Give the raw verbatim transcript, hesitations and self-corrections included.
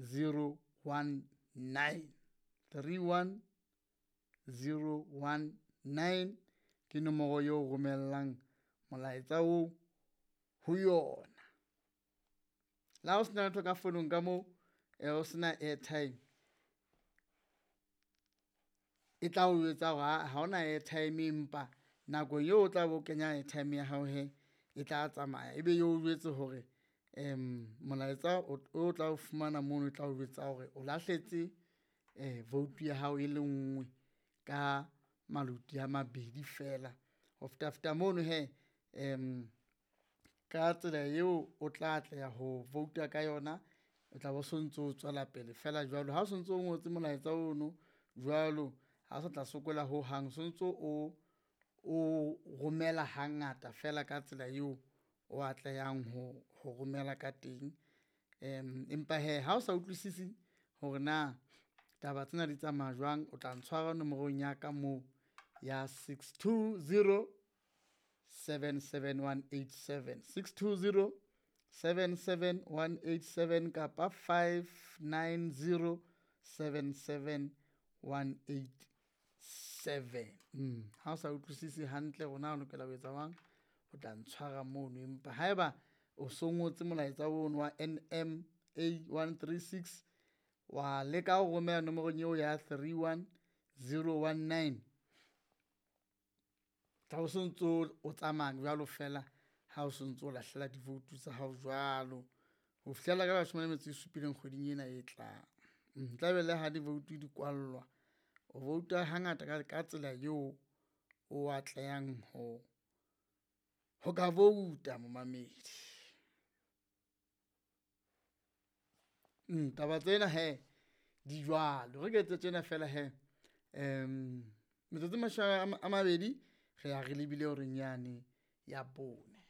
zero one nine. Three one zero one nine ke nomoro eo romellang molaetsa oo ho yona. Le ha o sena letho ka founung ka moo, o sena airtime e tla o jwetsa hore aa ha hona airtime, empa nakong eo o tla be o kenya airtime ya hao hee e tla tsamaya ebe eo jwetse hore molaetsa o tla o fumana mono, o tla o jwetsa hore o lahletse vote ya hao e le nngwe ka maloti a mabedi feela. Ho feta feta mono hee ka tsela eo o tla atleha ho vouta ka yona, o tla be o sontso o tswela pele feela jwalo. Ha o sontso o ngotse molaetsa ono jwalo, ha o sa tla sokola hohang, o sontso o o romela hangata feela ka tsela eo o atlehang ho ho romela ka teng. Empa hee ha o sa utlwisisi hore na taba tsena di tsamaya jwang, o tla ntshwara nomorong ya ka moo ya six two zero seven seven one eight seven. Six two zero seven seven one eight seven kapa five nine zero seven seven one eight seven. Ha o sa utlwisisi hantle hore na o lokela ho etsa jwang, o tla ntshwara mono, empa haeba o so ngotse molaetsa ono wa N M A one three six wa leka ho romela nomorong eo ya three one zero one nine, tla bo sontso o tsamaya jwalo feela ha o sontso o lahlela divoutu tsa hao jwalo ho fihlela ka leshome le metso e supileng kgweding ena e tlang. Tla be le ha divoutu di kwallwa, o vouta hangata ka ka tsela eo o atlehang ho ho ka vouta momamedi. Taba tsena hee di jwalo, re ke etse tjena feela hee metsotso e mashome a mabedi re ya re lebile horeng yane ya bone.